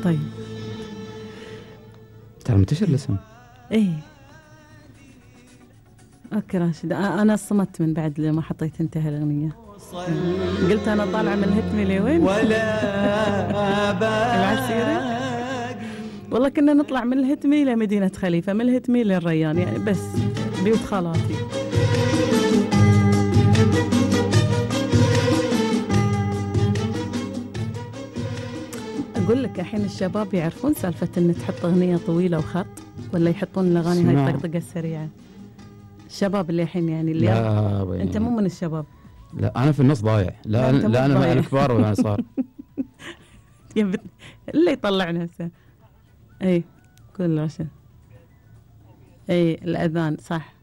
طيب ترى منتشر الاسم. ايه اوكي راشد، انا صمت من بعد لما حطيت انت هالاغنيه. قلت انا طالعه من الهتمي لوين العسيرة. والله كنا نطلع من الهتمي لمدينه خليفه، من الهتمي للريان، يعني بس بيوت خالاتي. اقول لك الحين الشباب يعرفون سالفه ان تحط اغنيه طويله وخط، ولا يحطون الاغاني هاي الطقطقه السريعه؟ الشباب اللي الحين يعني اللي لا انت مو من الشباب. لا انا في النص ضايع. لا انا مع الكبار ولا صار. اللي يطلع نفسه. اي كل عشان اي الاذان صح.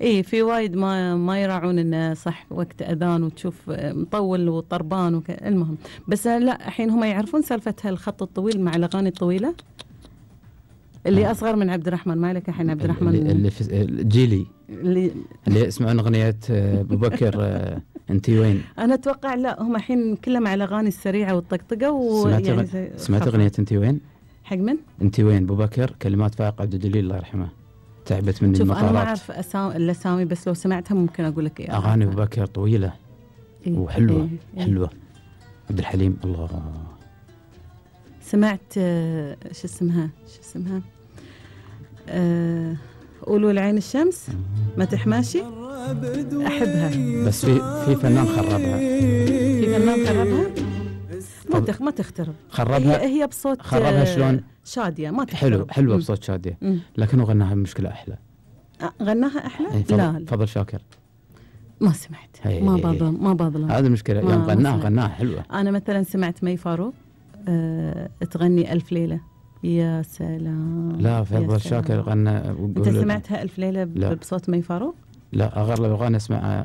اي في وايد ما يراعون انه صح وقت اذان، وتشوف مطول وطربان المهم. بس لا الحين هم يعرفون سالفه هالخط الطويل مع الاغاني الطويله اللي اصغر من عبد الرحمن. ما لك الحين عبد الرحمن اللي في جيلي اللي يسمعون اغنيه ابو بكر انتي وين. انا اتوقع لا هم الحين كلهم على الاغاني السريعه والطقطقه. سمعت اغنيه انتي وين حق من؟ انتي وين ابو بكر، كلمات فائق عبد الجليل الله يرحمه. تعبت مني المطارات. شوف انا ما اعرف الاسامي، بس لو سمعتها ممكن اقول لك ايه. اغاني ابو بكر طويله وحلوه. حلوه. عبد الحليم الله. سمعت شو اسمها قولوا لعين الشمس ما تحماشي، احبها. بس في فنان خربها. ما تخترب. خربها هي بصوت خربها شلون؟ شاديه ما تخترب. حلوه بصوت شاديه. لكنه غناها بمشكله احلى. غناها احلى؟ لا فضل شاكر ما سمعت. ما باظلم. هذه المشكله. يوم غناها حلوه. انا مثلا سمعت مي فاروق تغني ألف ليلة. يا سلام. لا فضل شاكر غنى. انت سمعتها ألف ليلة بصوت مي فاروق؟ لا اغلب الاغاني اسمع.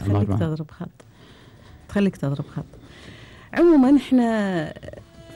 تخليك تضرب خط. عموما احنا